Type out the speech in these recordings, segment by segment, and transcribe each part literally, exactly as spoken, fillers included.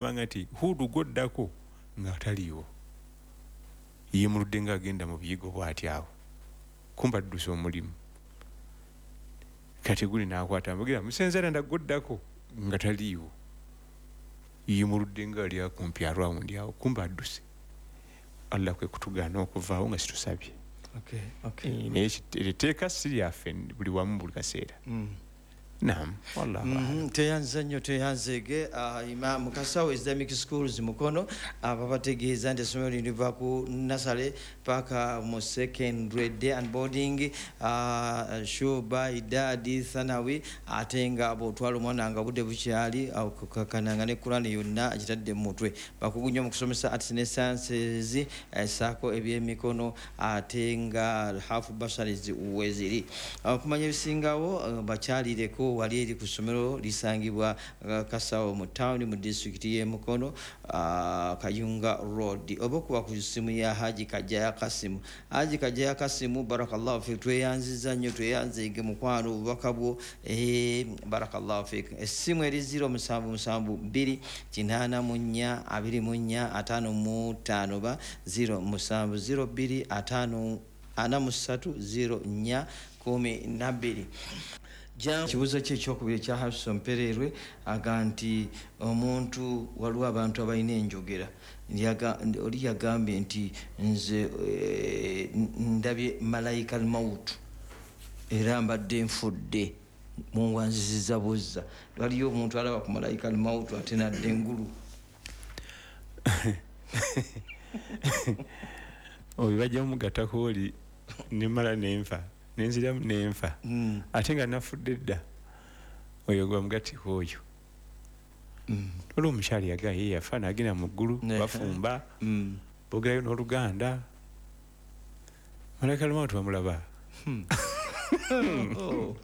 Banga nti Hudu gwoddako nga taliiwo, yemuludde nga agenda mu biyigo bw'ati awo, kumba addusa omulimu. Kati guli n'akwata mbugira musenzera ndagwoddako nga taliiwo, yemuludde nga ali akumpi arawundi awo, kumba adduse. Allah kwe kutugaana okuvaawo nga situsabye. Okay, okay. Naye etteeka si lyaffe buli wamu buli kaseera. Mm. Naam, wallahu mm -hmm. a'lam. Tweyanza nnyo, tweyanzeege. uh, Imam Kasawo Islamic Schools Mukono ababategeeza nti essomero lino liva ku nursery paka mu secondary, day and boarding, uh, shuba, idadi, thanawi, ate nga bw'otwala omwana nga budde bukyali okukakananga ne Kurani yonna agitadde mu mutwe. Bakugu nnyo mu kusomesa arts ne sciences, ssaako ebyemikono, ate nga half bursaries weziri. Okumanya ebisingawo bakyalireko wali eri ku ssomero lisangibwa Kasawo mu town mu disitulikiti y'e Mukono, Kayunga Road, oba okuba ku ssimu ya Haji Kajjaya Kasimu. Haji Kajjaya Kasimu, barakallahu fik, tweyanziza nnyo, tweyanzeege mukwano obubaka bwo, eh, barakallahu fik. Essimu eri zero musanvu musanvu bbiri kinaana mu nnya abiri mu nnya ataano mu ttaano ba zero musanvu zero bbiri ataano ana mu ssatu zero nnya kumi na bbiri. Kibuuzo kye ekyokubiri ekya Hafsa Mpererwe aga nti omuntu, waliwo abantu abalina enjogera, oli yagambye nti nze ndabye malayika al-mautu era mbadde nfudde, mungwanziziza buzza. Waliyo omuntu alaba ku malayika al-mautu ate nadda engulu. Oyo bajja mugattako oli nemala nenfa nenziramu nenfa, mm. ate nga nafudde dda, oyo gwa mugattiko oyo. Mm. Olwo omukyala yagaa ye yafa n'agenda mu ggulu, bafumba, mm. boogerayo n'Oluganda. Malayika al-mautu bamulaba. Hmm. oh.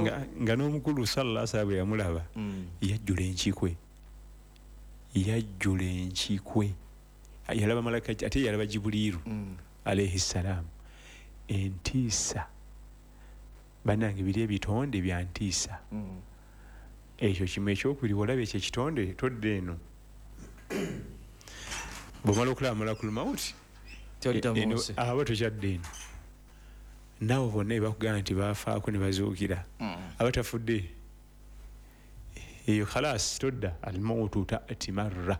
nga, nga n'omukulu sallallahu alaihi wasallam bwe yamulaba, mm. yajjula enkikwe, yajjula enkikwe. Yalaba malayika, ate yalaba Jibuliiru mm. alayhi salam. Entiisa bannange, biri ebitonde bya ntiisa. Mm. Ekyo kimu. Ekyokubiri, olaba ekyo ekitonde todda eno, bw'omala okulaba malakul mauti aba tokyadda eno, nabo bonna ebakugamba nti bafaako ne bazuukira, mm. aba tafudde eyo khalas todda. Almautu ta'ti marra,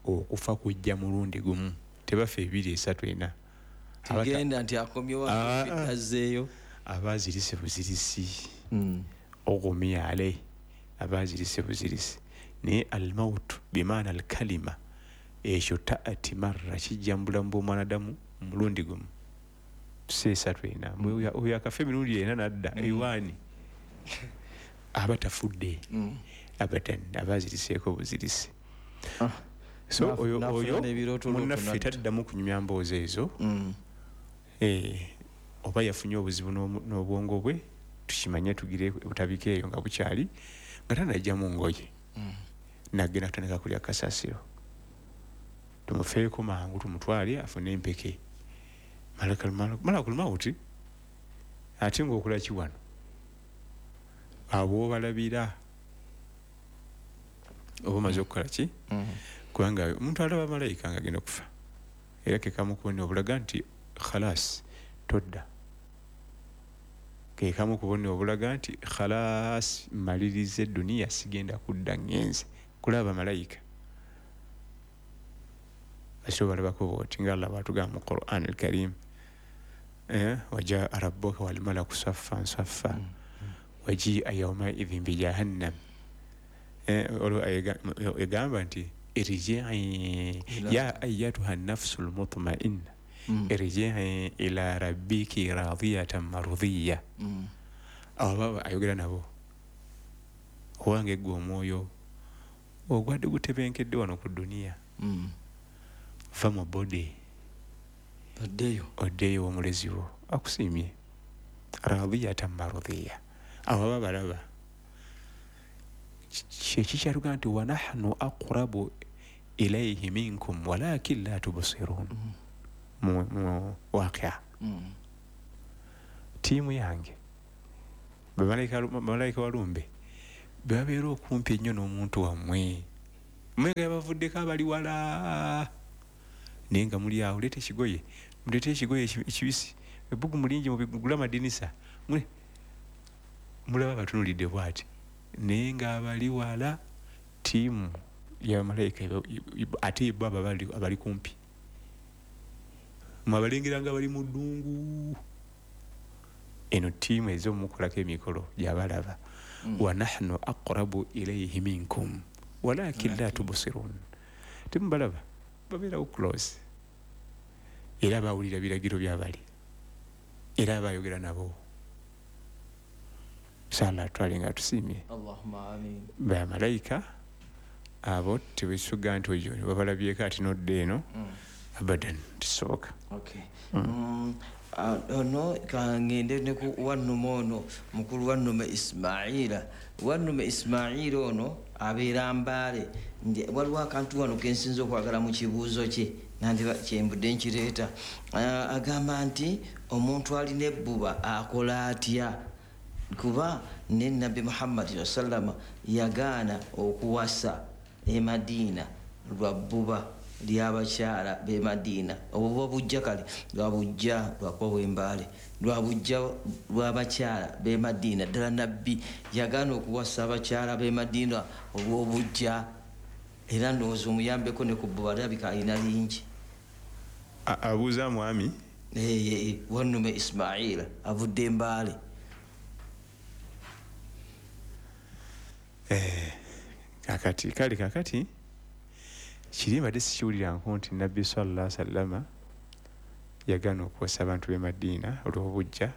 okufa kujja mulundi gumu, tebafa ebiri esatu ena. Tigenda nti akomyewo azzeeyo, aba azirise buzirisi, mm. ogumiya alayhi, aba azirise buzirisi. Naye almautu bimaana alkalima, ekyo ta'ati marra, kijja mu bulamu bw'omwanadamu mulundi gumu, si esatu ena. Oyo akafa emirundi ena nadda ewaani, aba tafudde mm. abadan, aba aziriseeko buzirisi. Ah. So oyo oyo munnaffe taddamu kunyumya mboozi ezo. Mm. Eh, oba yafunye obuzibu n'obwongo bwe, tukimanye tugire butabike eyo nga bukyali, nga tanajja mu ngoye. Mm. Nagenda kutandika kulya kasasiro, tumufeeko mangu tumutwale afune empeke. Malakul mauti ate ng'okola ki wano, abo obalabira oba omaze okukola ki? Mm. Kubanga omuntu alaba malayika nga agenda okufa, era ke kamu ku bubonero obulaga nti khalas todda, ke kamu ku bubonero obulaga nti khalas mmaliriza edduniya, sigenda kudda, ngenze kulaba malayika. Aso balabako bw'oti nga Allah bw'atugamba mu Quran al-Karim, eh, wajaa rabbuka wal malaku saffan saffa waji'a yawmaidhin bi jahannam. Eh, olwo egamba nti irji'i ya ayyatuha an-nafsul mutma'inna mm. irji'i ila rabbiki radiyatan mardiyya. Mm. Abo baba ayogera nabo, owange ggwe omwoyo ogwadde gutebenkedde wano ku dduniya, mm. va mu body oddeyo, oddeyo omulezi wo akusiimye, radiyatan mardiyya. Abo baba balaba kyekikyaluga nti wa nahnu aqrabu ilayhi minkum walakin la tubsirun. Mm. Mu waqia mm. tiimu yange bamalayika walumbe bebabeera okumpi ennyo n'omuntu wammwe, Mwenga yabavuddeko abali wala, naye nga muli awo, leeta ekigoye, muleete ekigoye ekibisi, ebbugu mulingi, mubigula amadinisa, mulaba batunulidde bwati, naye nga abali wala tiimu yabamalayika ate bo abali kumpi mwabalengera nga bali mu ddungu. Eno tiimu ez'omukolako emikolo gyabalaba. Wa nahnu aqrabu ilayhi minkum walakin la tubsirun, temubalaba, babeerawo close, era bawulira biragiro byabali, era bayogera nabo. Sala twale nga tusiimye. Allahumma amin. Bamalayika abo tebisuga nti oyo babalabyeko ati nodda eno, abadan tisoboka. Okay. Ono kangende ne ku wannume ono, mukulu wannume Ismaila. Wannume Ismaila ono abeera Mbale. Waliwo akantu wano kensinza okwagala mu kibuuzo kye, nandiba kyembudde nkireeta. Agamba nti omuntu alina ebbuba akola atya? Kuba ne Nabbi Muhammad sallama yagaana okuwasa e Madiina lwa bbuba ly'abakyala b'e Madiina. Obwo buba bujja kale lwa bujja lwakuba bw'Embaale, lwa bujja lw'abakyala b'e Madiina. Ddala Nabbi yagaana okuwasa abakyala b'e Madiina olw'obujja, era ndowooza omuyambeko ne ku bbuba lirabika alina lingi. Abuuza mwami wannume Ismaila avudde Embaale. Kakati kale kakati kiri mbadde sikiwuliranko nti Nabbi sallallahu alaihi wasallama yagaana okuwasa abantu b'e Madiina olw'obujja.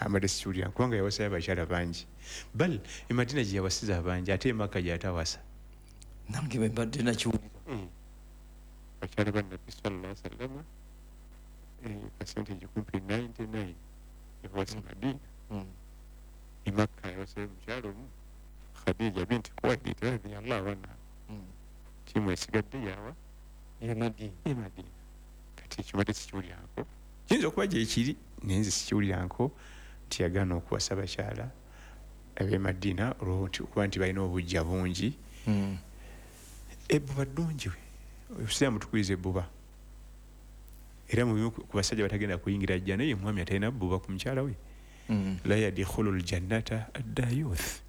Mbadde sikiwuliranko kubanga yawasayo abakyala bangi, bal e Madiina gye yawasiza abangi, ate e Makka gy'atawasa. Nange bwe mbadde nakiwulira. Bakyala ba Nabbi sallallahu alaihi wasallama percentage kumpi ninety nine yawasa Madiina. E Makka yawasayo omukyala omu, Khadija binti Khuwaylid radhiyallahu anha. Tiimu esigadde yawa e Madiina. E Madiina. Kati ekyo mbadde sikiwuliranko, kiyinza okuba gye kiri naye nze sikiwuliranko nti yagaana okuwasa abakyala ab'e Madiina olw'okuba nti balina obujja bungi. Ebbuba ddungi, obusiraamu tukubiriza ebbuba, era mu bimu ku basajja batagenda kuyingira jjana ye mwami atalina bbuba ku mukyala we. La yadkhulu ljannata addayuth,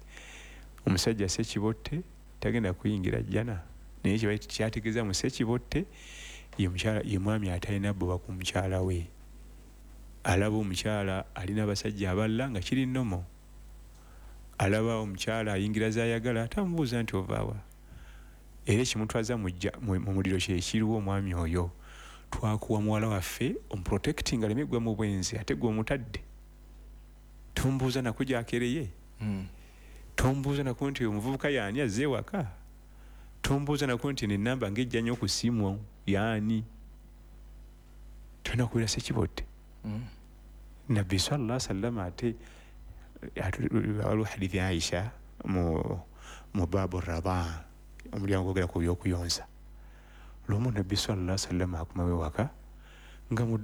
omusajja sekibotte tagenda kuyingira jjana, naye kiba kyategeeza mu sekibotte ye mukyala, ye mwami atalina bbuba ku mukyala we. Alaba omukyala alina abasajja abalala nga kiri nnomo, alaba omukyala ayingira z'ayagala atamubuuza nti ovaawa, era ekimutwaza mu muliro kye kiriwo omwami oyo. Twakuwa muwala waffe omuprotecting aleme gwa mu bwenzi, ate gwe omutadde tombuuza nako gy'akereye, tombuuza nako nti omuvubuka yaani azze ewaka, tombuuza nako nti nenamba ng'ejja nnyo ku ssimu yaani. Tolina kubeera sekibotte. Nabbi sallallahu alaihi wasallam ate waliwo hadithi ya Aisha mu mu baabu radaa, omulyango gwogera ku by'okuyonsa. Lumu Nabbi sallallahu alaihi wasallam akomawo ewaka nga mu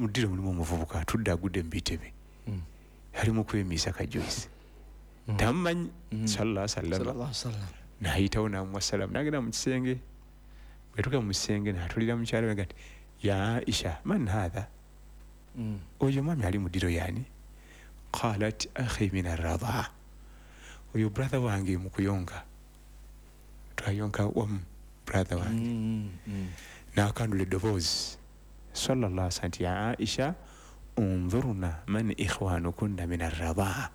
ddiro mulimu omuvubuka atudde agudde mu bitebe, ali mu kwemiisa kajoyisi, tamumanyi sallallahu alaihi wasallam. N'ayitawo n'amuwa salaamu, n'agenda mu kisenge. Bwe yatuuka mu kisenge n'atulira mukyala we nti ya Aisha man haadha, oyo mwami ali mu ddiro yaani? Qalat akhi min arradaa, oyo brother wange mu kuyonka, twayonka wamu brother wange. N'akandula eddoboozi sallallahu alaihi wasallam nti ya Aisha unzurna man ikhwanukunna min arradaa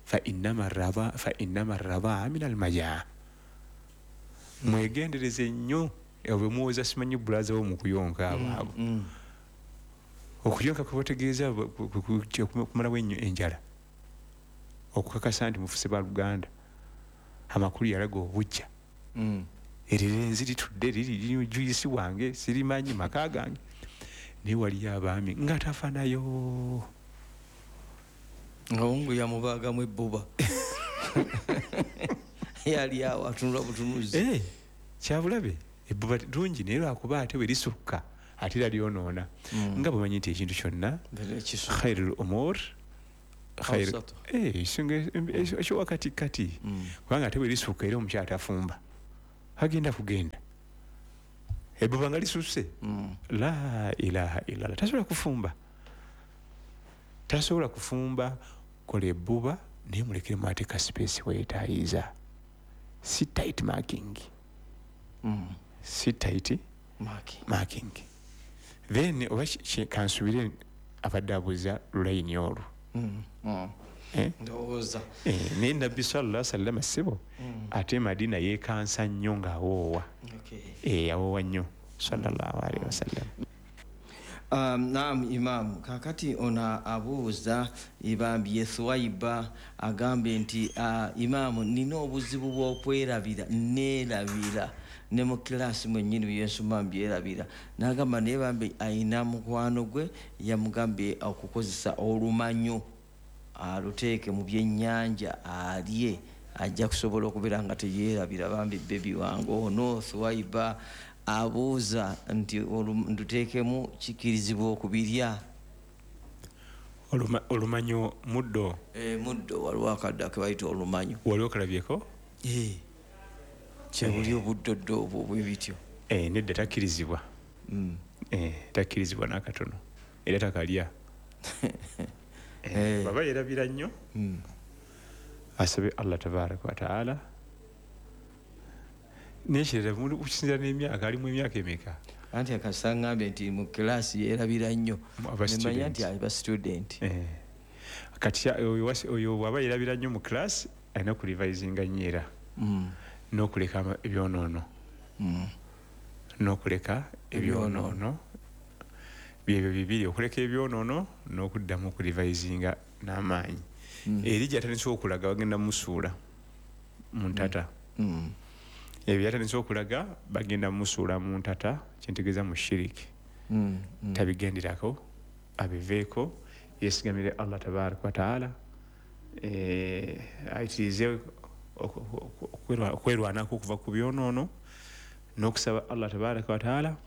fa innama arradaa fa innama arradaa min almajaa. Mwegendereze nnyo bwe muwoza simanyi bulaza wo mu kuyonka abo abo. Okuyonka kubategeeza kumalawo enjala, okukakasa nti mufuse baluganda. Amakulu yalaga obujja, erirenzi litudde liri juyisi wange sirimanyi maka gange, naye waliyo abaami nga tafanayo nga wungu yamubaagamu ebbuba yali awo atunula butunuzi. Kyabulabe ebbuba ddungi naye lwakuba ate bwe lisukka ate era lyonoona. Nga bwemanyi nti ekintu kyonna khairul umur ekyowakatikati, kubanga ate bwe lisukka era omukyala tafumba, Agenda kugenda ebbuba nga lisusse. Mm. La ilaha illallah. Tasobola kufumba, tasobola kufumba. Kola ebbuba naye mulekere ate ka space weetayiza, si tight marking. Mm. Si tight marking, marking. Then oba kansubire abadde abuuza lulayini olwo. Mm. Mm. Eh? Ndowooza Eh, naye Nabbi sallallahu alaihi wasallam ssebo, Mm. ate Madina yeekansa nnyo ng'awoowa. Okay. Eh, yawoowa nnyo sallallahu alaihi wasallam. Um, naam Imam, kakati ona abuuza ibambi ye Thwaiba agambye nti uh, Imam, nina obuzibu bw'okwerabira, neerabira ne mu kilaasi mwennyini byensoma mbyerabira. N'agamba naye bambi ayina mukwano gwe yamugambye okukozesa olumanyo aluteeke mu byennyanja alye, ajja kusobola okubeera nga teyeerabira. Bambi bebi wange ono Thwaiba abuuza nti nduteekemu kikirizibwa okubirya? Oluma, olumanyo muddo. E, muddo waliwo akaddo ke bayita olumanyo. Waliwo kalabyeko? E, kyebuli obuddoddo obwo bwe bityo. Eh, nedda takkirizibwa. Mm. Eh, takkirizibwa n'akatono era takalya. Eh. Baba yerabira nnyo. Mm. Asabe Allah tabaraka wa taala. Nekirala okusinziira n'emyaka, alimu emyaka emeka? Anti akasangambe nti mu kilaasi yeerabira nnyo, Aba nemanya nti student. aba student. Eh. Kati oyo wasi- oyo bw'aba yerabira nnyo mu class alina okurevisinga nnyo era Mm. n'okuleka ama- ebyonoono. Mm. N'okuleka ebyonoono byebyo bibiri, okuleka ebyonoono n'okuddamu okurevisinga n'amaanyi. Mm. Eri gy'atandise okulaga bagenda musuula mu ntata. Mm. Ebyo byatandise okulaga bagenda musuula mu ntata, kyentegeeza mu shiriki. Mm. Mm. Tabigenderako, abiveeko, yeesigamire Allah tabaraka wa taala, eh, ayitirize oku- oku- okwerwa- okwerwanako okuva ku byonoono n'okusaba Allah tabaraka wa taala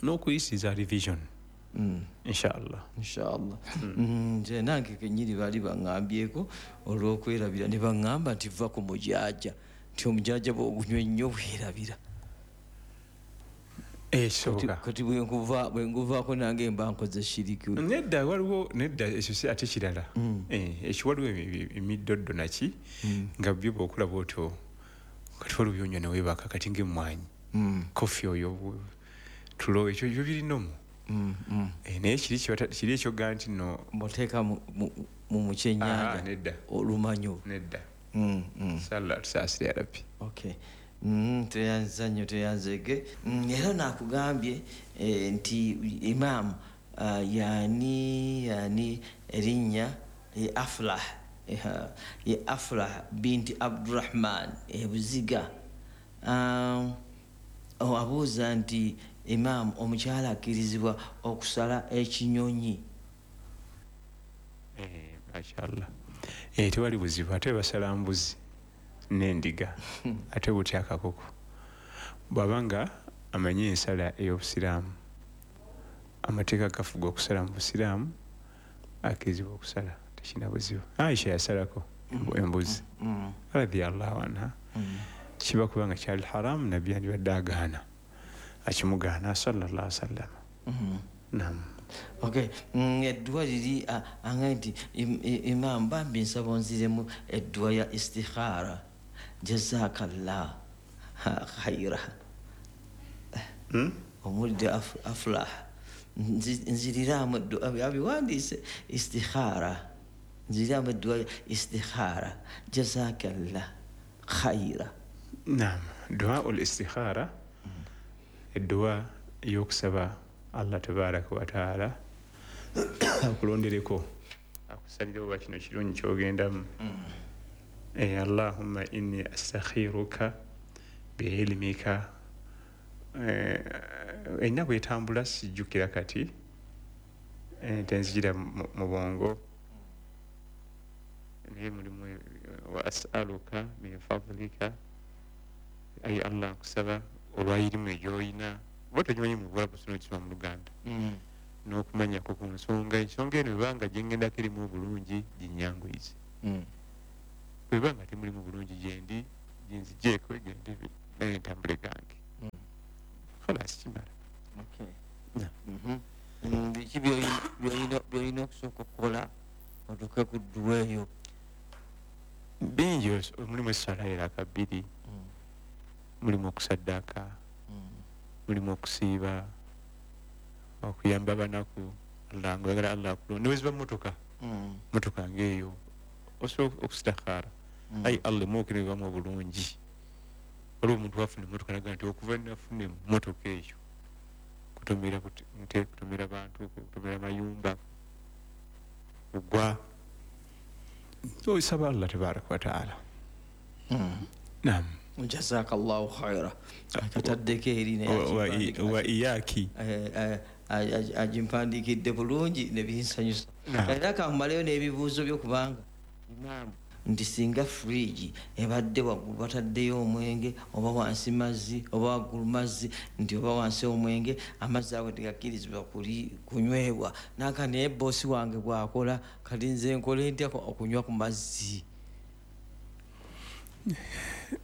n'okuyisiza revision. Mm. Inshallah. Inshallah. Nze nange kennyini baali baŋŋambyeko olw'okwerabira ne baŋŋamba nti va ku mujaaja, nti omujaaja bw'ogunywa ennyo bwerabira. Eh, kisoboka. Kati bwe nkuva- bwe nkuvaako nange mba nkoze shiriki. Nedda waliwo, nedda ekyo si ate kirala. Mm. Eh, ekyo waliwo emi-, emiddoddo naki Mm. nga byo bw'okulaba otyo kati waliwo byonywa ne weebaka kati ng'emmwanyi. Mm. Kofi oyo tulo ekyo ebyo birinomu. Mm, mm. Eh, naye kiri kibata-, kiri ekyoga nti nno Mboteeka mu, mu, mu mukyennyanja. Ah, nedda. Olumanyo. Nedda. Mm, mm. Sallallahu tusaasire ya Rabbi. Okay. Mm, tweyanza nnyo, tweyanzege. Mm, era nakugambye eh, nti Imam uh, yani yani erinnya ye Aflah, eh, ye Aflah binti Abdurrahman e Buziga. Um, oh, abuuza nti Imam, omukyala akkirizibwa okusala ekinyonyi? Eh, mashallah. Eh, tewali buzibu, ate basala mbuzi n'endiga ate butya akakoko. Bw'aba nga amanyi ensala ey'obusiraamu, amateeka gafuga okusala mu busiraamu, akkirizibwa okusala, tekirina buzibu. Aisha yasalako embuzi Mm. radiyallahu anha. Mm. Kiba kubanga kyali haramu, nabbi yandibadde agaana, akimugaana sallallahu alaihi wasallam. Mm. Naam. Okay. Mm, eddwa liri angaye nti im, Imam bambi nsaba onziremu eddwa ya istikhara, jazakallah khaira. Hmm? Omulidde af, Aflah nziriramu eddwa abiwandiise istikhara, nziriramu eddwa ya istikhara, jazakallah khaira. Naam, dua ul istikhara, edduwa ey'okusaba Allah tabaraka wa taala akulondereko, akusalire oba kino kirungi kyogendamu. Eh, Allahumma inni astakhiruka biilmika. Eh, erina bwetambula sijjukira kati, eh, tenzijira mu bwongo, naye mulimu wa as'aluka min fadlika, ayi Allah nkusaba olwa irimu egyoyina, oba togimanyi mu Luwarabu sino okisoma mu Luganda, Mm. n'okumanyako ku nsonga, ensonga eno bwebanga gyengendako erimu obulungi ginnyanguyize, Mm. bwebanga temulimu bulungi gyendi ginzigyeko egende Naye ntambule gange. Khalas, kimala. Biki byolina okusooka okukola otuuke ku dduwa eyo? Bingi, mulimu essala eraka bbiri, mulimu okusaddaaka, mulimu okusiiba, okuyamba abanaku. Allah ngoyagala Allah akulonde. Neweziba mmotoka, mmotoka ng'eyo osobola okustakhaara, ayi Allah, emmotoka eno ebamu obulungi. Waliwo omuntu wafuna emmotoka naga nti okuva nafuna emmotoka eyo kutomera nte, kutomera bantu, kutomera mayumba, kugwa. Osaba Allah tabaraka wa taala. Naam. Jazakallahu khaira. Akataddeko eri wa iyaki agimpandiikidde bulungi ne binsanyusa. Era kamaleyo n'ebibuuzo byo, kubanga imaamu nti singa fridge ebadde waggulu bataddeyo omwenge, oba wansi mazzi, oba waggulu mazzi, nti oba wansi omwenge, amazzi ago tegakkirizibwa kunywebwa. Nanka naye boosi wange bw'akola, kati nze nkole ntya okunywa ku mazzi?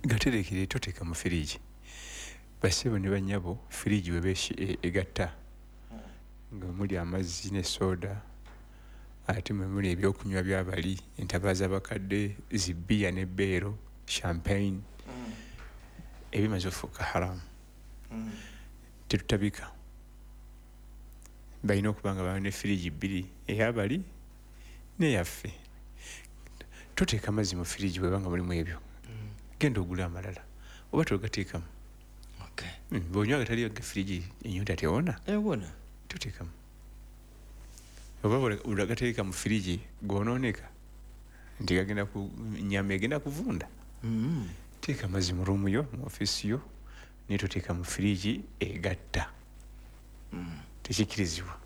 Gaterekere, toteeka mu firigi. Bassebo ne bannyabo, firigi weba egatta nga muli amazzi ne soda, ate mwe muli ebyokunywa byabali, entabaza abakadde, zibbiya ne beero, champagne, ebimaze ofuuka haramu. Tetutabika. Balina okuba nga balina firigi bbiri, eyabali n'eyaffe. Toteeka amazzi mu firigi bweba nga mulimu ebyo, genda ogule amalala oba togateekamu. Bw'onywa agatali ga firigi, ennyonta tewona. Ewona. Toteekamu. Oba olagateeka mu firigi goonooneka, nti gagenda ku nyama egenda kuvunda. Teeka amazzi mu ruumu yo, mu ofiisi yo, naye toteeka mu firigi egatta. Tekikirizibwa.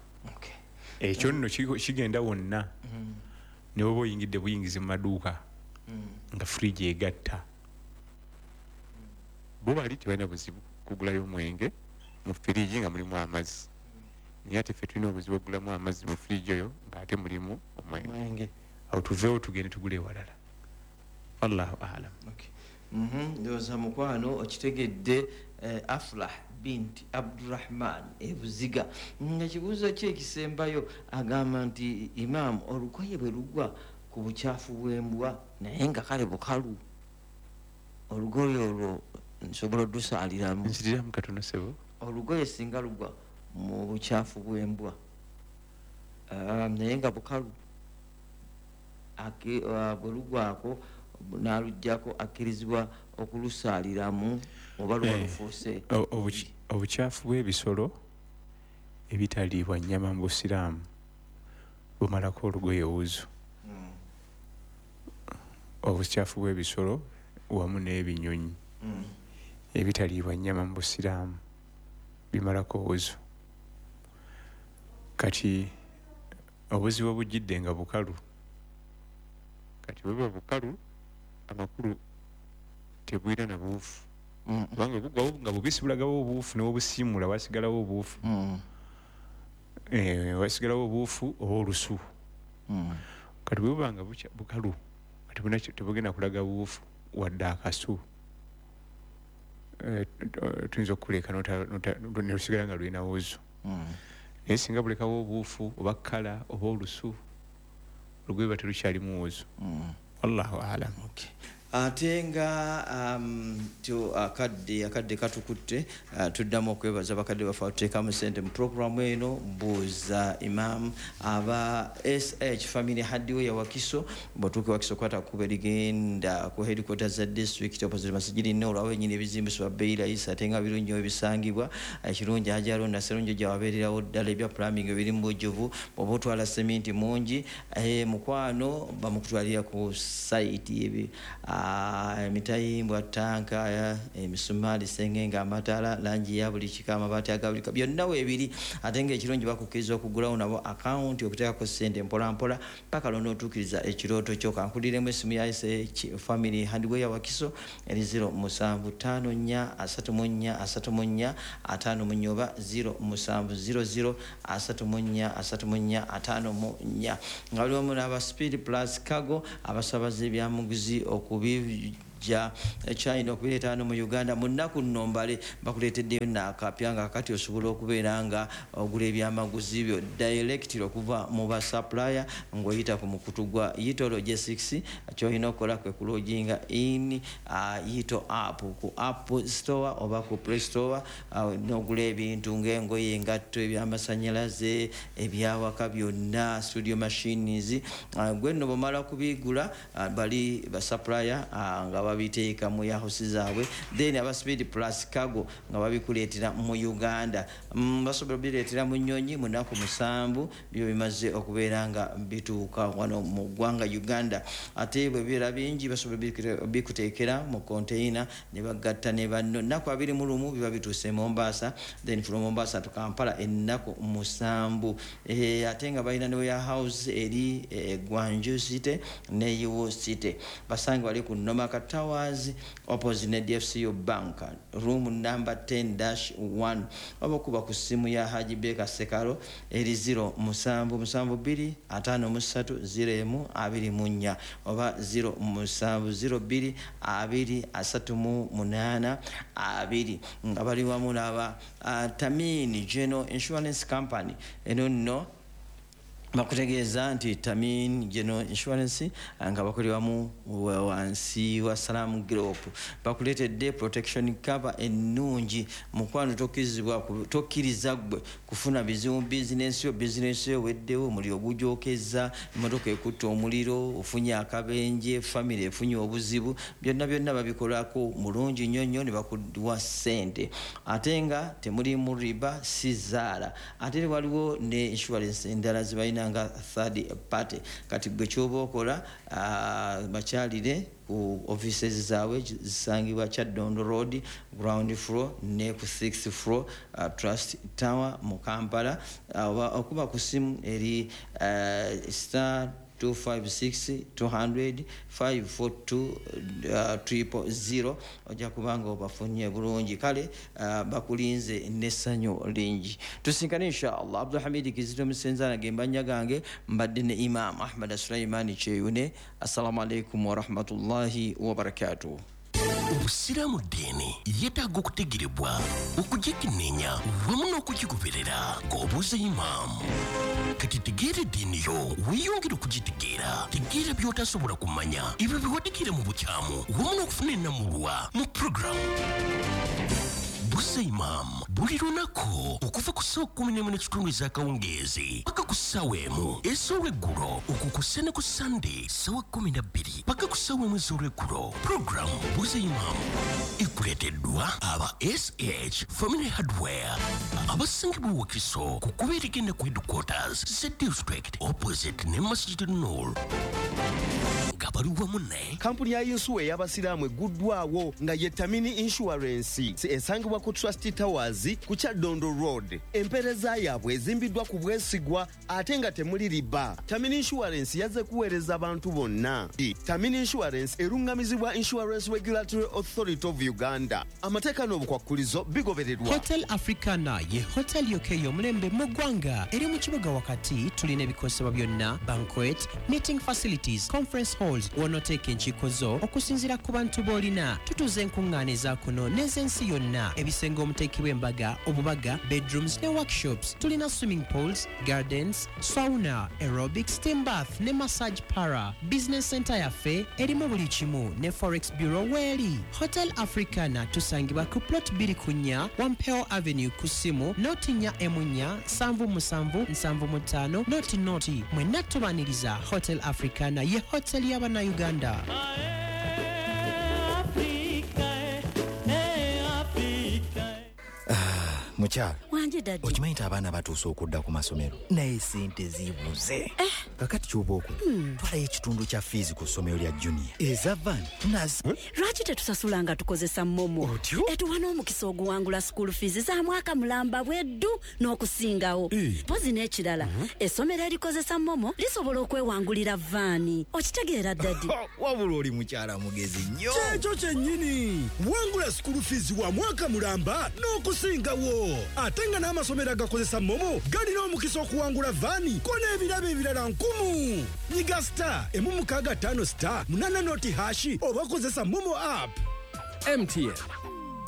Ekyo nno kigenda wonna, ne bw'oba oyingidde buyingizi mu maduuka nga firigi egatta. Bo bali tebalina buzibu kugulayo omwenge mu firigi nga mulimu amazzi, naye ate ffe tulina obuzibu okugulamu amazzi mu firigi oyo ng'ate mulimu omwenge. Awo tuveewo tugende tugule ewalala. Wallahu alam. Ndowooza mukwano okitegedde. Aflah binti Abdurahman ebuziga nga kibuuzo kye ekisembayo agamba nti imaamu, olugoye bwe lugwa ku bukyafu bw'embwa naye nga kale bukalu, olugoye olwo nsobola oddusaaliramu? Nziriramu katono, ssebo. Olugoye singa lugwa mu bukyafu bw'embwa naye nga bukalu, bwe lugwako n'aluggyako, akkirizibwa okulusaaliramu oba luba lufuuse? Obukyafu bw'ebisolo ebitaliibwa nnyama mu busiraamu bumalako olugoye wuzu. Obukyafu bw'ebisolo wamu n'ebinyonyi ebitaliibwa nnyama mu busiraamu bimalako wuzu. Kati obuzibu obujjidde nga bukalu. Kati bwe buba bukalu, amakulu tebwira na buufu, kubanga bugwawo nga bubisi bulagawo obuufu, n'obusiimula wasigalawo obuufu, wasigalawo obuufu oba olusu. Kati bwe buba nga bukalu, kati buna tebugenda kulaga buufu wadde akasu. Tuyinza okukuleka ne lusigala nga lulina wuzu. Naye singa bulekawo obuufu oba kkala oba olusu, olugoye luba terukyalimu wuzu. Wallahu alam. Ate nga um, akadde akadde katukutte, uh, tuddamu okwebaza bakadde baffe atuteekamu sente mu puroguramu eno Buuza Imam, aba S H Family Hardware Wakiso. Bw'otuuka Wakiso, kwata kkubo erigenda ku headquarters za district, opposite Masijidi Noro, awo ennyini ebizimbisibwa bbeeyi layisi ate nga birungi ebisangibwa. Ekirungi Hajji Naserunjo gyawabeererawo ddala, ebya plumbing ebiri mu bujjuvu. Bw'oba otwala seminti mungi, eh, mukwano, bamukutwalira ku site. Ebi emitayimbwa, tanka, emisumaali, sengenge, amataala, langi ya buli kika, amabaati aga buli byonna weebiri. Ate ng'ekirungi bakukkiriza okugulawo nabo akawunti okuteekako ssente mpolampola paka lw'onootuukiriza ekirooto kyo. Kankuliremu essimu ya S H Family Hardware Wakiso eri zero musanvu ttaano nnya asatu mu nnya asatu mu nnya ataano mu nnya oba zero musanvu zero zero asatu mu nnya asatu mu nnya ataano mu nnya, nga bali wamu n'aba Speed Plus Cargo abasabaza ebyamuguzi okubi okubijja China okubireeta wano mu Uganda mu nnaku nno mbale. Bakuleeteddeyo naakapya nga kati osobola okubeera nga ogula ebyamaguzi byo direct okuva mu ba supplier ng'oyita ku mukutu gwa Yito Logistics. Kyolina okukola kwe kuloginga in uh, Yito app ku App Store oba ku Play Store, uh, n'ogula ebintu ng'engoye, engatto, ebyamasanyalaze, ebyawaka byonna, studio machines. uh, gwe nno bwomala kubigula, uh, bali ba supplier uh, nga babiteeka mu warehouse zaabwe, then aba Speed Plus Cargo nga babikuleetera mu Uganda. mm, basobola bireetera mu nnyonyi mu nnaku musanvu, byo bimaze okubeera nga bituuka wano mu ggwanga Uganda. Ate bwe bibeera bingi, basobola bikuteekera mu container ne bagatta ne banno, nnaku abiri mu lumu biba bituuse e Mombasa, then from Mombasa to Kampala ennaku musanvu. eh, ate nga balina ne warehouse eri eh, Guangzhou City ne Yiwu City. Basange bali ku Nomaka Towers, opposite ne D F C U Bank, room number ten dash one, oba okuba ku ssimu ya Haji Beka Sekalo eri zero musanvu musanvu bbiri ataano mu ssatu zero emu abiri mu nnya oba zero musanvu zero bbiri abiri asatu mu munaana abiri, nga bali wamu n'aba uh, Tamini General Insurance Company. Eno nno bakutegeeza nti Tamin General Insurance nga bakoleramu wansi wa Salam Group bakuleetedde protection cover ennungi. Mukwano, tokkirizibwa, tokkiriza ggwe kufuna bizibu mu bizinensi yo. Bizinensi yo weddewo, omuliro gujokeza, emotoka ekutta omuliro, ofunye akabenje, famire efunye obuzibu, byonna byonna babikolako mulungi nnyo nnyo ne bakuwa ssente, ate nga temulimu riba, si zaala. Ate waliwo ne insurance endala zebalina nga third party. Kati gwe kyoba okola, bakyalire ku offices zaabwe, zisangibwa Kyaddondo Road, ground floor, ne ku sixth floor, uh, Trust Tower mu Kampala, oba uh, okuba ku simu eri uh, star two five six two hundred five four two uh, triple zero, ojja kubanga obafunye bulungi. Kale uh, bakulinze n'essanyu lingi. Tusinkane inshallah. Abdulhamidi Kizito Musenzana gembannya gange, mbadde ne Imam Ahmad Sulaimani Kyeyune. Assalamu alaikum warahmatullahi wabarakatuh. Obusiraamu ddiini yeetaaga okutegerebwa, okugikenneenya wamu n'okugigoberera ng'obuuza imaamu. Kati tegeera eddiini yo, weeyongere okugitegeera. Tegeera by'otasobola kumanya, ebyo byewategeera mu bukyamu, wamu n'okufuna ennamulwa mu puroguramu Buuza Imaamu buli lunaku okuva ku ssaawa kumi n'emu n'ekitundu ez'akawungeezi paka ku ssaawa emu ez'olweggulo, okwo kussa ne ku Sande ssaawa kumi na bbiri paka ku ssaawa emu ez'olweggulo. Puroguramu Buuza Imaamu ekuleeteddwa aba S H Family Hardware, abasangibwa Wakiso ku kkubo erigenda ku headquarters za district, opposite ne Masjid Nur, nga bali wamu ne Kampuni ya yinsuwa ey'abasiraamu egguddwawo nga ye Tamini Insurance, esangibwa ku Trust Towers ku Kyaddondo Road. Empeereza yaabwe ezimbiddwa ku bwesigwa ate nga temuli riba. Tamini Insurance yazze kuweereza abantu bonna. Tamini Insurance eruŋŋamizibwa Insurance Regulatory Authority of Uganda. Amateeka n'obukwakkulizo bigobererwa. Hotel Africana ye hotel yokka ey'omulembe mu ggwanga, eri mu kibuga wakati. Tulina ebikozesebwa byonna, banquet, meeting facilities, conference halls, w'onooteeka enkiiko zo okusinziira ku bantu b'olina. Tutuuza enkuŋŋaana eza kuno n'ez'ensi yonna, ebisenge omuteekebwa embaga, obubaga, bedrooms ne workshops. Tulina swimming pools, gardens, sauna, aerobic, steam bath ne massage parlour. Business center yaffe erimu buli kimu, ne forex bureau weeri. Hotel Africana tusangibwa ku plot bbiri ku nnya Wampeo Avenue, ku ssimu noti nnya emu nnya nsanvu musanvu nsanvu mu ttaano noti noti. Mwenna tubaniriza. Hotel Africana ye hotel y'Abannayuganda. Africa, eh, Africa. Mukyala. Wanje, daddy. Okimanyi nti abaana batuuse okudda ku masomero, naye sente zibuze. Kakati kyoba okola, twalayo ekitundu kya fiizi ku ssomero lya junior, eza van nazi. Lwaki tetusasula nga tukozesa MoMo? Otyo? Etuwa n'omukisa oguwangula school fees za mwaka mulamba bweddu n'okusingawo. Mpozi n'ekirala, essomero erikozesa MoMo lisobola okwewangulira vaani. Okitegeera, daddy? Wabula oli mukyala mugezi nnyo. Kyekyo kyennyini. Wangula school fees wa mwaka mulamba n'okusingawo, ate nga n'amasomero agakozesa MoMo galina omukisa okuwangula vaani ko n'ebirabo ebirala nkumu. Lukumu. Nyiga star emu mukaaga ttaano star munana noti hash oba kozesa MoMo app. M T N.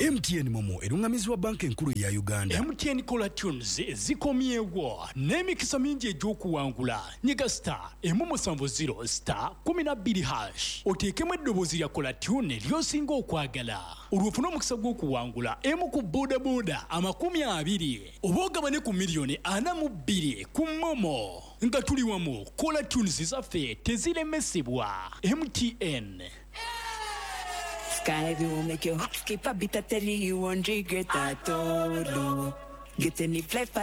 M T N MoMo erungamizibwa Banka Enkulu ya Uganda. M T N Caller Tunes zikomyewo n'emikisa mingi egy'okuwangula. Nyiga star emu musanvu zero star kumi na bbiri hash, oteekemu eddoboozi lya caller tune ly'osinga okwagala, olwo ofune omukisa gw'okuwangula emu ku bodaboda amakumi abiri oba ogabane ku miliyoni ana mu bbiri ku MoMo. Nga tuli wamu, caller tunes zaffe teziremesebwa. M T N. Sky will make your heart skip a beat. I tell you, you won't regret at all. Oh. Get any fly for